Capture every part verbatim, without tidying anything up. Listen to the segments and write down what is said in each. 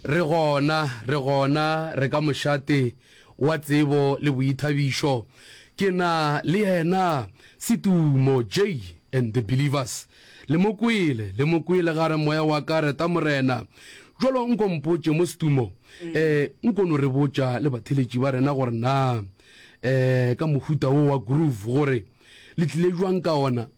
Re gona, re gona, re ka mošate wa tsebo le boithabišo. Ke na le yena Setumo J and the Believers. Le mo kwele, le mo kwele ga re moya wa ka reta Morena. Jwalo nko mpotše mo Setumo, eh nko no re botša le batheletši ba rena gore na eh ka mohuta wo wa groove gore le tlile jwang ka ona.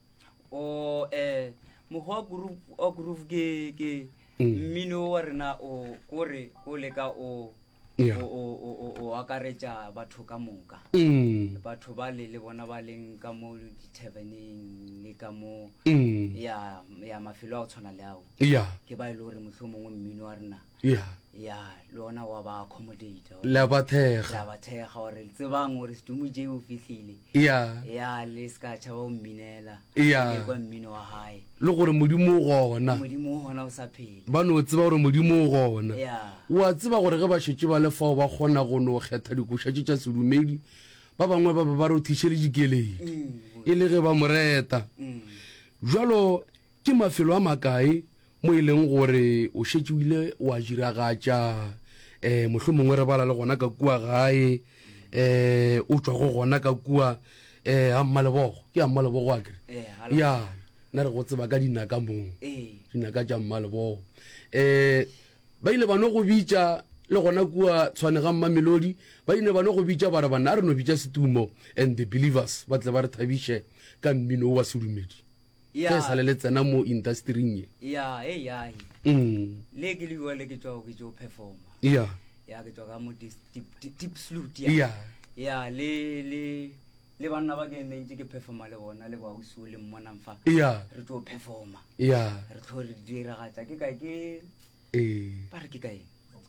O eh mokgwa wa groove wa groove ke ke mmino wa rena o kore o leka o Yeah. o o o o- o akaretša batho ka moka. Mm. Batho ba le le bona ba leng ka mo di-taverneng le ka mo Mm. ya ya mafelo a go tshwana le ao. Yeah. Ke ba e le gore mohlomongwe mmino wa rena Yeah. ya le ona wa ba accommodate. Le a ba thekga. La ba thekga gore tsebang gore Setumo J o fihlile. Yeah. Ya le ska tšhaba ho mminela. Ya. Le kwa mmino wa hae. Le gore Modimo o gona. Modimo o gona o sa phela. Ba no tseba gore Modimo o gona. Ya. O a tseba gore ge ba šetše ba le fao ba kgona go no kgetha dikoša tše tša sedumedi, ba bangwe ba be ba rothiše le dikeledi e le ge ba mo reta. Bjalo ke mafelo a makae mo e leng gore o šetše o ile wa diragatša, um mohlomongwe re bala le gona ka kua gae, um o tšwa go gona ka kua um ga Mmalebogo, ke ga Mmalebogo akere? Eh, ga Lebogo. Ya, nna re go tseba ka dinaka moo, Ee. dinaka tša Mmalebogo. Um ba ile ba no go bitša le gona kua Tshwane ga Mmamelodi, ba ile ba no go bitša ba re banna a re no bitša Setumo and the Believers ba tle ba re thabiše ka mmino wo wa sedumedi. Ya. Ge e sa le le tsena mo industering ye. Ya, e ya. Mm. Le ke le bua le ke tswa ke tšo performa. Ya. Ya ke tswa ka mo deep, deep, deep salute ya. Ya. Ya le le le banna ba ke ne ntse ke performa le bona le ba ausi o le mmonang fa. Ya. Re tlo performa. Ya. Re tlo re diragatša ke kae ke Eh. ba re ke kae?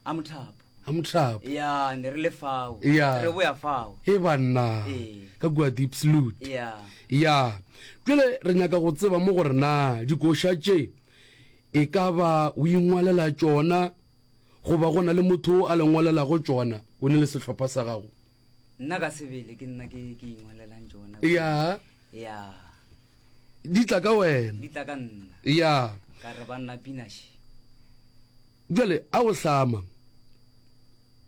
A Mothapo. A Mothapo. Ya, ne re le fao. Ya. Re boya fao. E banna. Ee. Ka kua Deep Salute. Ya. Ya. Bjale re nyaka go tseba mo gore na dikoša tše e ka ba o ingwalela tšona goba go na le motho a le ngwalelago tšona o ne le sehlopha sa gago. Nna ka sebele ke nna ke ke ingwalelang tšona. Ya. Ya. Di tla ka wena. Di tla ka nna. Ya. Ka re banna pinaše. Bjale a o hlama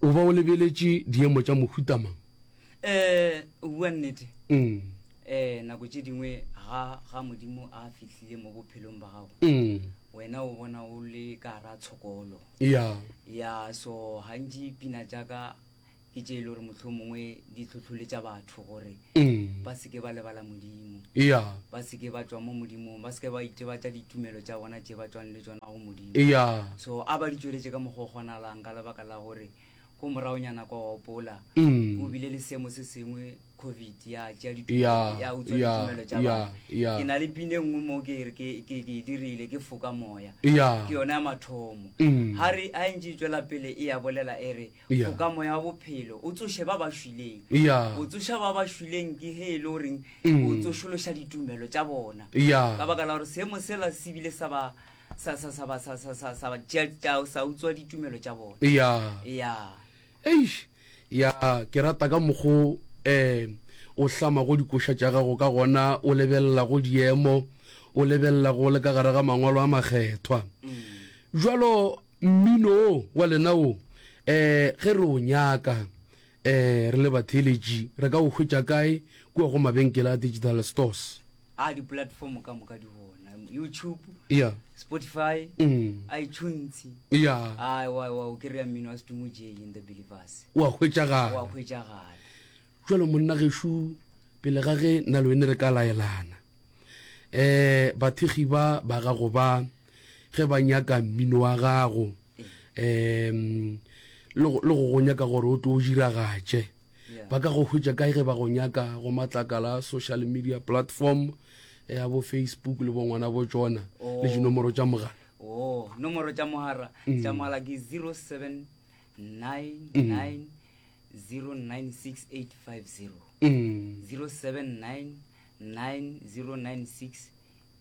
o ba o lebeletše diemo tša mohuta mang? Eh, o bua nnete. Mm. Eh, nako tše dingwe ga ga Modimo a fihlile mo bophelong ba gago. Mm. Wena o bona o le ka ra tshokolo. Ya. Ya, so gantši pina tša ka ke tše e le gore mohlomongwe di hlohloletša batho gore Mm. ba se ke ba lebala Modimo. Ya. Ba se ke ba tšwa mo Modimong, ba se ke ba itebatša ditumelo tša bona tše ba tšwang le tšona go Modimo. Ya. So a ba di tšweletše ka mokgwa o kgonalang ka lebaka la gore ko moraonyana kwa wa opola Mm. o bile le seemo se sengwe COVID ya tšea Ya, ditumelo, ya utswa ya, ditumelo tša ya, batho. ya. Ke na le pina e nngwe mo ke re ke, ke, ke e dirile ke foka moya. Ya. Ke yona ya mathomo. Mm. Ha re, ha e ntše e tšwela pele e ya bolela e re, Ya. foka moya wa bophelo, o tsoše ba ba šwileng. Ya. O tsoša ba ba šwileng ke he e le goreng Mm. o tsošološa ditumelo tša bona. Ya. Ka baka la gore seemo sela se bile sa ba, sa, sa, sa ba, sa, sa, sa, sa ba tšea, tša, sa utswa ditumelo tša bona. Ya. Ya. Eish. Ya, ke rata ka mokgo eh o hlamago dikoša tša gago ka gona, o lebelela go diemo, o lebelela go le ka gare ga mangwalo a makgethwa. Jwalo mmino o wa lena o eh ge re o nyaka eh re le batheeletši re ka o hwetša kae kua go mabenkele a digital stores? A di-platform ka moka di gona. YouTube, Ya. Spotify, Mm. iTunes. Ya. Ai, wa, wa, o kry-a mmino wa Setumo J and the Believers. Wa hwetšagala. Wa hwetšagala. Jwalo monna gešo pele ga ge nna le wene re ka laelana, eh bathekgi ba ba gago ba ge ba nyaka mmino wa gago, em le go, le go go nyaka gore o tlo o diragatše, Yeah. ba ka go hwetša kae ge ba go nyaka go matlakala a social media platform ya bo Facebook le bo ngwana bo tšona le Oh. dinomoro tša mogala? Oh, nomoro tša mogala, Mm. tša mogala ke zero seven nine nine zero nine six eight five zero. Mm. Zero seven nine nine zero nine six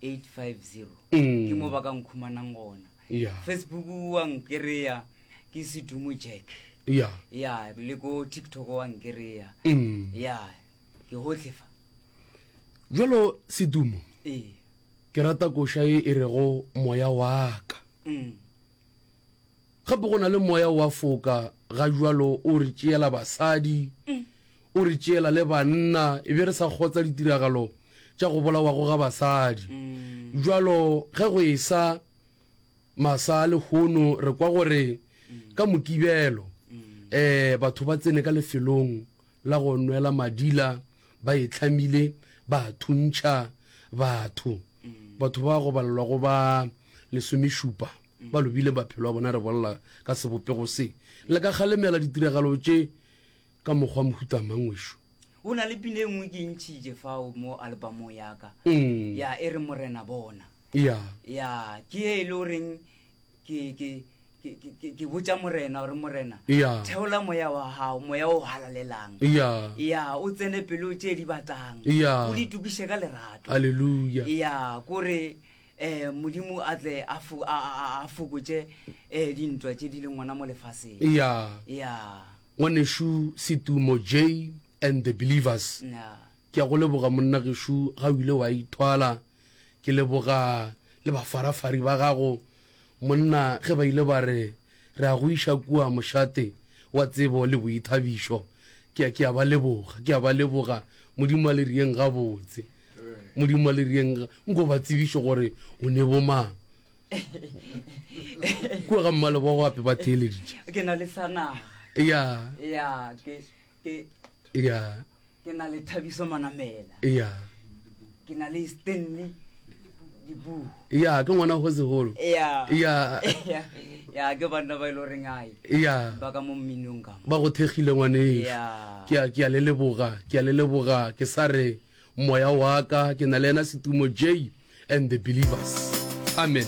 eight five zero. Mm. Ke mo ba ka nkhumanang gona. Yeah. Facebook wa nkereya ke Setumo Jack. Yeah. Ya, le ko TikTok wa nkereya. Mm. Ya, ke hohle fa. Jwalo Setumo. Ee. Ke rata koša e e rego moya wa ka. Mm. Gape go na le moya wa foka ga jwalo o re tšeela basadi, o re tšeela le banna, e be re sa kgotsa ditiragalo tša go bolawago ga basadi. Jwalo ge go esa masa a lehono re kwa gore ka Mokibelo um batho ba tsene ka lefelong la go nwela madila ba e hlamile ba thuntšha batho. Batho ba go balelwa go ba lesomešupa ba lobile maphelo a bona re bolela ka sebopego se. Le ka kgalemela ditiragalo tše ka mokgwa mohuta mang wešo? Go na le pina e nngwe ke e ntšhitše fao mo albumong ya ka. Mm. Ya e re Morena bona. Ya. Ya ke e le goreng ke ke ke ke ke botša Morena gore Morena Ya. theola moya wa gago, moya o halalelang. Ya. Ya o tsene pelo tše di batlang. Ya. O di tukiše ka lerato. Hallelujah. Ya kore eh Modimo a tle a fo- a a- a fokotše eh dintwa tše di leng gona mo lefaseng. Ya. Ya. Ngwanešu Setumo J and the Believers. Ya. Ke a go leboga monna gešo ga o ile wa ithwala. Ke leboga le bafarafari ba gago monna ge ba ile ba re re a go iša kua mošate wa tsebo le boithabišo. Ke a ke a ba leboga, ke a ba leboga. Modimo a le rieng gabotse. Modimo a le rieng, nko ba tsebiše gore o ne bomang. Kua ga Mmalebogo gape ba theeleditše. Ke na le sa naga. Ya. Ya, ke ke Ya. Ke na le Thabiso Manamela. Ya. Ke na le Stanley Dibu. Ya, ke ngwana go segolo. Ya. Ya. Ya, ke banna ba ile goreng ai. Ya. Ba ka mo mminong ka mo. Ba go thekgile ngwanešu. Ya. Ke a, ke a le leboga, ke a le leboga, ke sa re moya wa ka, ke na le yena Setumo J and the Believers. Amen.